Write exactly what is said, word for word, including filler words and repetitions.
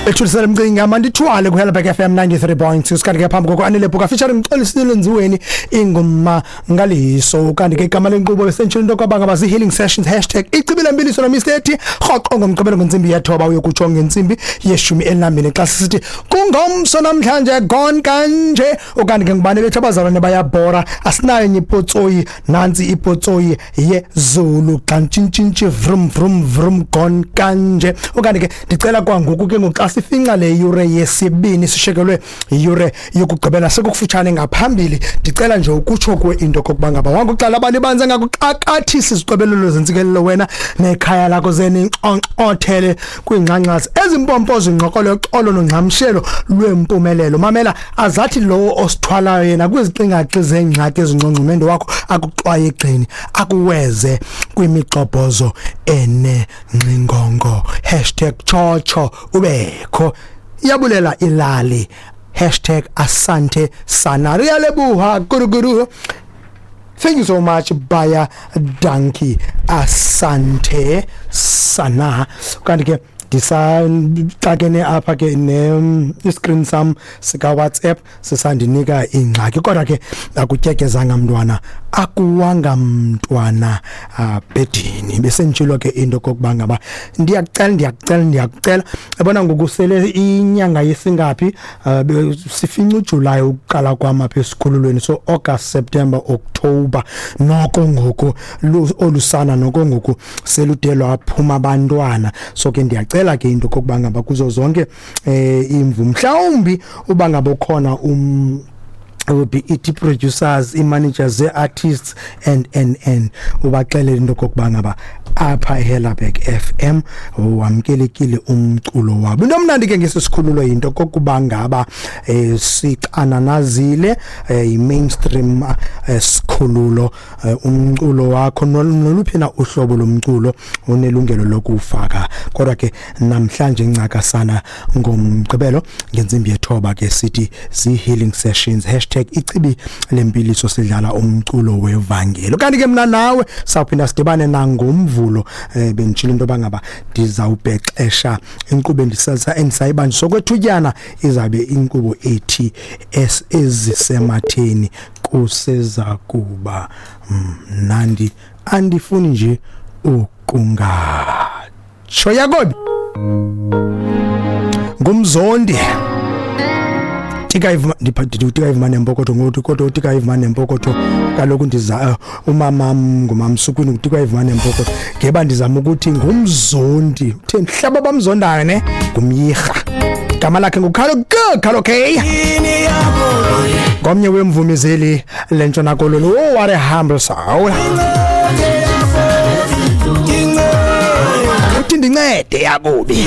Bethulisele mcinga mandithwale ku Helberg F M ninety-three point six. Kanti ke phambi koko Anele Bhuka featuring Mxolisile Nziweni, ingoma ngaliso. Kanti ke igama lenkqubo besentshilo into kwabanga bazi healing sessions, hashtag ichibi lembiliso no Mister T, rhoqo ngomgqibelo ngentsimbi yethoba uyokutsho ngentsimbi yeshumi elinambini, xa sisithi kungomso namhlanje gone kanje. Ukanti ke ngubani bethu abazalwane bayabhora, asinayo enye ipotsoyi, nantsi ipotsoyi yezulu xantshintshintshi vrum vrum vrum gone kanje. Ukanti ke ndicela kwangoku ke ngoku xa sifinca le yure yesibini, sishekelwe yure yokugqibela sekukufutshane ngaphambili, ndicela nje ukutsho kuwe into kokuba ngaba wanguxala abalibanze ngakuxakathisa izicobelelo zentsikelelo wena nekhaya lakho, zeninxonxothele kwiingxangxasi ezimpompo zingqokolo yoxolo nongxamshelo lwempumelelo. Mamela, azathi lowo osithwalayo yena kwiziqingaxi zeengxaki ezingqongqumendo wakho akuxwaye egxeni, akuweze kwimigxobhozo enengxingongo, hashtag tshotsho ubekho, iyabulela ilali, hashtag asante sana, riyalebuha guruguru. Thank you so much, baie dankie, asante sana. Kanti ke ndisaxakene apha ke ne iscreen sam sika WhatsApp sisandinika ingxaki, kodwa ke akutyekezanga mntwana, akuwanga mntwana bhedini. Besentshilo ke into kokuba ngaba ndiyakucela, ndiyakucela, ndiyakucela, yabona ngoku sele inyanga yesingaphi, uh, sifinca uJuly ukuqala kwam apha esikhululweni, so August, September, October, noko ngoku olusana noko ngoku selude lwaphuma abantwana. So ke ndiyacela ke into kokuba ngaba kuzo zonke eh imvu, mhlawumbi uba ngaba ukhona um will be it producers, i-managers ze-artists and and and ubaxelele into kokuba ngaba apha eHellerberg F M wamkelekile umculo wabo. Into omnandi ke ngesisikhululo yinto kokuba ngaba eh, sixananazile, eh, i-mainstream eh, sikhululo, eh, umculo wakho noluphi na uhlobo lomculo unelungelo lokufaka. Kodwa ke namhlanje ncakasana ngomgqibelo ngentsimbi yethoba ke sithi zi-healing sessions, hashtag ichibi lempiliso, sidlala umculo wevangelo. Kanti ke mna nawe sawuphinda sidibane nangomvulo. eh, benditshilo into yoba ngaba ndizawubhexesha inkqubo endisasa endisayibanjiswa sokwethutyana, izabe inkqubo ethi ezisematheni kuseza kuba mnandi, andifuni nje ukungatsho. Yakobi ngumzondi Tika ndipha ivuma nempokotho ngoku, kodwa utika ivuma nempokotho kaloku ndiza umama ngumamsukwini utika ivuma nempokotho ngeba ndizama ukuthi ngumzondi utheni hlaba bamzondayo ne ngumyirha, igama lakhe nguKhalo G Khalo K, ngomnye wemvumi zeli lentshona koloni. Oh, what a humble soul! Uthi ndincede Yakubi.